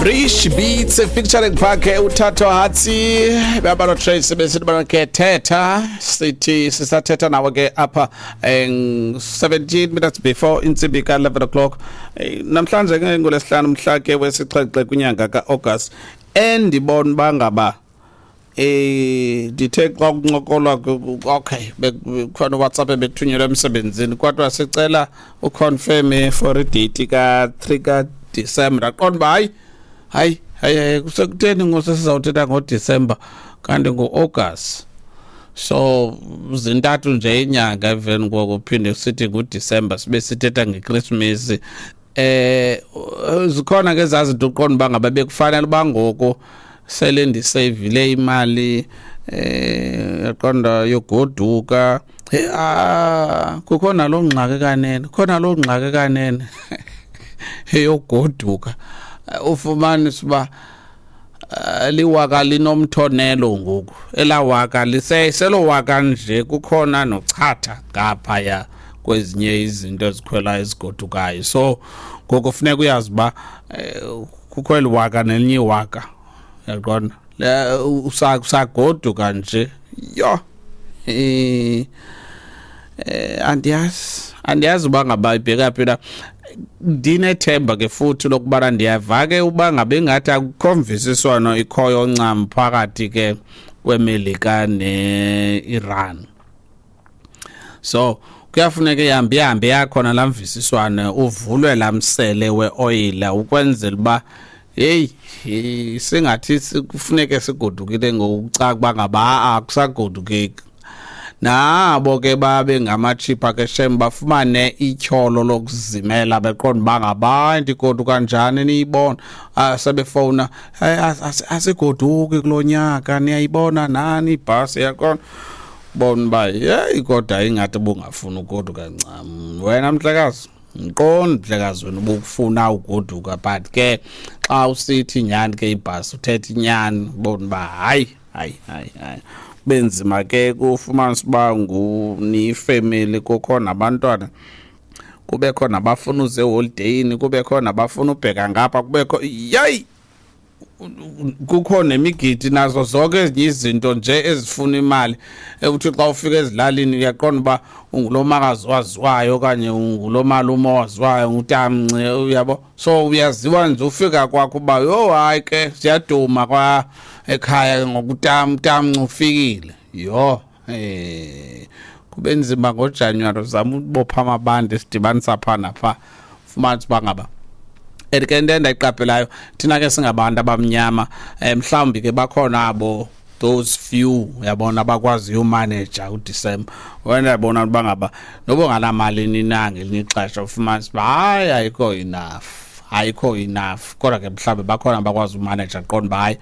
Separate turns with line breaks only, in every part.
Rich Beats featuring Phakhe uThatho Hatsi babalo Trace besithi bana ke thetha sithi sisathetha nawe ke apha 17 minutes before intsimbi ka 11 o'clock. Namhlanje ke ngolesihlanu mhla ke wesixhenxe kwinyanga kaAugust, endibona bangaba ndithe xa kuncokolwa, okay, khona WhatsApp ebethunyelwa emsebenzini, kodwa sicela uconfirm for idate ka-3 kaDisemba. Ndaqonda uba hayi, hayi, hayi, kusekutheni ngoku sesizawuthetha ngoDisemba kanti ngo-August? So zintathu nje inyanga emveni koko phinde sithi nguDisemba, sibe sithetha ngekrismesi. Zikhona ke zazinto uqonda uba ngaba bekufanele uba ngoku sele ndiseyivile imali, yaqonda, yogoduka. Ah, kukho naloo ngxaki kanene, khona loo ngxaki kanene eyogoduka, ufumanisa uba liwaka linomthonelo ngoku, elawaka liseselowaka nje, kukhona nochatha ngaphaya kwezinye izinto ezikhwelayo ezigodukayo. So ngoku funeka uyazi uba kukho eli waka nelinye iwaka, uyaqonda, usagoduka nje. Yho, andiyazi uba ngaba ibheka phi na. Ndinethemba ke futhi lokubana ndiyava ke uba ngabe ingathi akukho mvisiswano ikhoyo ncam phakathi ke kweMelika ne-Iran, so kuyafuneka ihambe ihambe yakhona laa mvisiswano, uvulwe laa msele weoyile ukwenzela uba heyi, singathi kufuneke sigodukile ngokucaca uba ngaba akusagodukeki. Nabo ke babe ngamatshipha ke shem, bafumane ityholo lokuzimela, beqonda uba ngabantu igoduka njani niyibona. Sebefowuna, "Asigoduki kulo nyaka, niyayibona nani ibhasi?" Yaqonda bona uba yeyi, kodwa ingathi bungafuni ugoduka ncam wena mhlekazi. Ngiqonda mhlekazi wena ubukufuna ugoduka, but ke xa usithi nyhani ke ibhasi, uthetha inyani, bona uba hayi, hayi, hayi, hayi, benzima ke kufumanisa uba niyifemeli, kukho nabantwana, kubekho nabafuna uze eholideyini, kubekho nabafuna ubheka ngapha, kubekho yeyi, kukho nemigidi nazo zonke ezinye izinto nje ezifuna imali. Ekuthi xa ufika ezilalini uyaqonda uba ungulomakazi waziwayo okanye ungulomalume owaziwayo, ngutamnci, uyabo, so uyaziwa nje ufika kwakho uba yho, hayi ke, siyaduma kwa ekhaya ngokutamnci ufikile. Yho, kube nzima ngoJanuwari, uzama ukubopha amabandi sidibanisa pha napha, fumanisa uba ngaba. And ke into endayiqaphelayo, thina ke singabantu abamnyama, mhlawumbi ke bakhona abo, those few, uyabona, abakwaziyo umanager uDisemba. Wena yabona uba ngaba noba unganamali nina, ngelinye ixesha ufumanisa uba hayi, ayikho enough, ayikho enough, kodwa ke mhlawumbi bakhona abakwazi umanager, qonda uba hayi,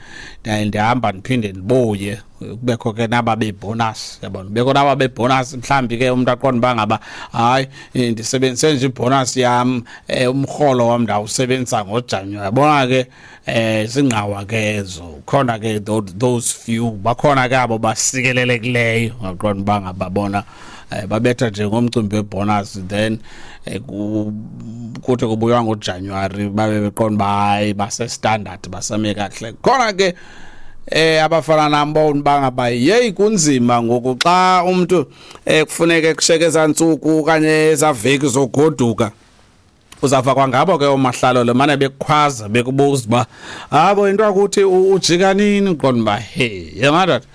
ndihamba ndiphinde ndibuye, kubekho ke naba bebonus, yabona, kubekho naba bebonus. Mhlawumbi ke umntu aqonda uba ngaba hayi, ndisebenzise nje ibonus yam, umrholo wam ndawusebenzisa ngoJanuwari, yabona ke, singqawa ke ezo. Khona ke those few bakhona ke abo basikelelekileyo, aqonda uba ngaba bona babetha nje ngomcimbi webonus, then kuthi kubuywa ngoJanuwari babe beqonda uba hayi, base-standard, basame kakuhle. Khona ke abafana nami bona bangaba yeyi, kunzima ngoku xa umuntu kufuneke kusheke ezantsuku okanye ezaveki zogoduka. Uzava kwangabo ke oomahlalo le mane bekukhwaza, bekubuza uba habo into akuthi ujika nini, uqonda uba he, yemadoda,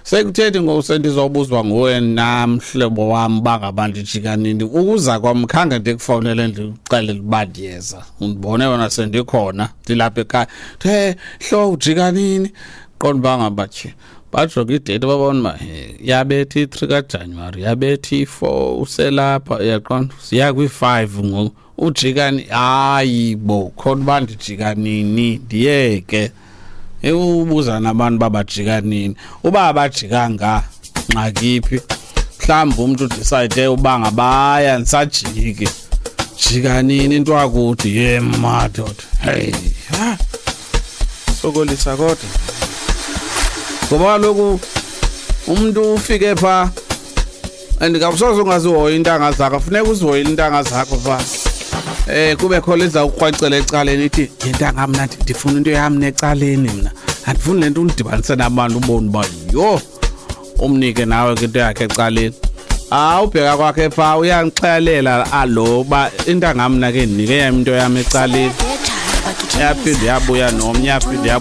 sekuthethi ngoku sendizobuzwa nguwe namhlobo wam uba ngaba ndijika nini? Ukuza kwam khange ndikufowunele ndikuxelele uba ndiyeza, undibone wena sendikhona, ndilapha ekhaya, the hlo, ujika nini? Qonda uba ngaba tye, bajonge idate, babona uba yabetha i-3 kaJanuwari, yabetha i-4, uselapha, uyaqonda, siya kwi-5 ngoku, ujika ni? Hayi bo, khona uba ndijika nini, ndiyeke ubuza nabantu uba bajika nini. Uba abajikanga, ngxakiphi? Mhlawumbi umntu udecide uba ngabaya ndisajiki, jika nini into akuthi ye madoda, hey, ha sokolisa kodwa, ngoba kaloku umntu ufike phaa and kawusoze ungazihoyi iintanga zakho, funeka uzihoyile iintanga zakho phaa. Kube khona iza kukrwecela ecaleni ithi, "Yintanga, mna ndifuna into yam necaleni, mna andifuni le nto undidibanise nabantu." Ubone uba yho, umnike nawe ke into yakhe ecaleni. Awubheka kwakhe phaa, uyandixelela alo uba, "Intanga, mna ke ndinike yam into yam ecaleni." Yaphinda yabuya nomnye, yaphinda.